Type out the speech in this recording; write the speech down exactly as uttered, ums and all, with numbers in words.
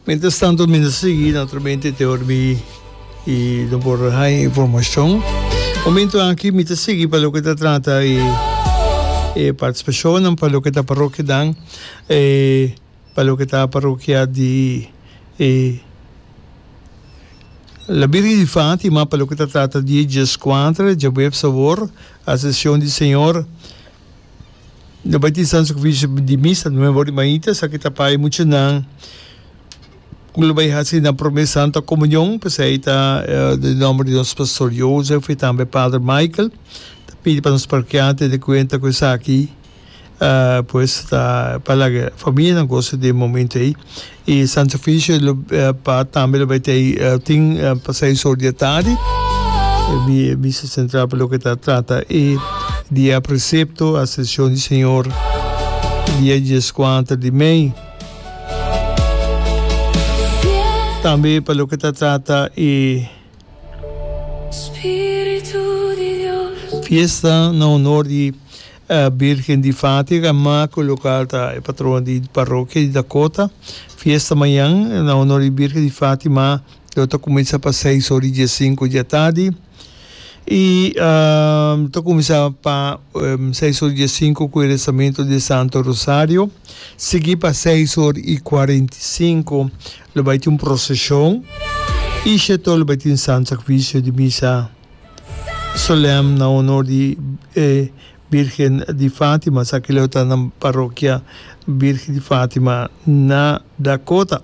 Mientras tanto mi ta sigui naturalmente te ora mi y no por haya informacion. Momento aki mi ta sigui pa loke ta trata e e participacionnan pa loke ta parokianan e pa loke ta parokia di e La Virgen di Fatima pa loke ta trata di dieskuater djaweps awor Ascension di Señor. Lo bai tin Santo Sacrificio di Misa nuebe ora di mainta. Esaki ta pa e muchanan ku lo bai hasi nan prome Santa Komunion. P'esei ta den nomber di nos Pastor Joseph i tambe Pader Michael ta pidi pa nos parrokian tene kuenta ku esaki. Pues ta pa laga famianan gosa di e momento ei. E Santo Sacrificio lo pa tambe lo bai tei tin pa seis or di e tardi. E misa central pa loke ta trata e dia precepto Ascension di Señor dia dieskuater di mei. Tambe pa loke ta trata e fiesta na honor di Birgen di Fátima, Maco local ta e patrona di parokia di Dakota. Fiesta mañan na honor di Birgen di Fátima lo ta cuminsa pa seis ora y diescinco di atardi y ta cuminsa pa seis ora y diescinco cu e rezamento di Santo Rosario, sigui pa seis ora y cuarenta y cinco lo bay tin un procesion y sheto lo bay tin Santo Sacrificio di Misa Solem na honor di e Birgen di Fatima. Esaki lo ta na Parokia Birgen di Fatima na Dakota.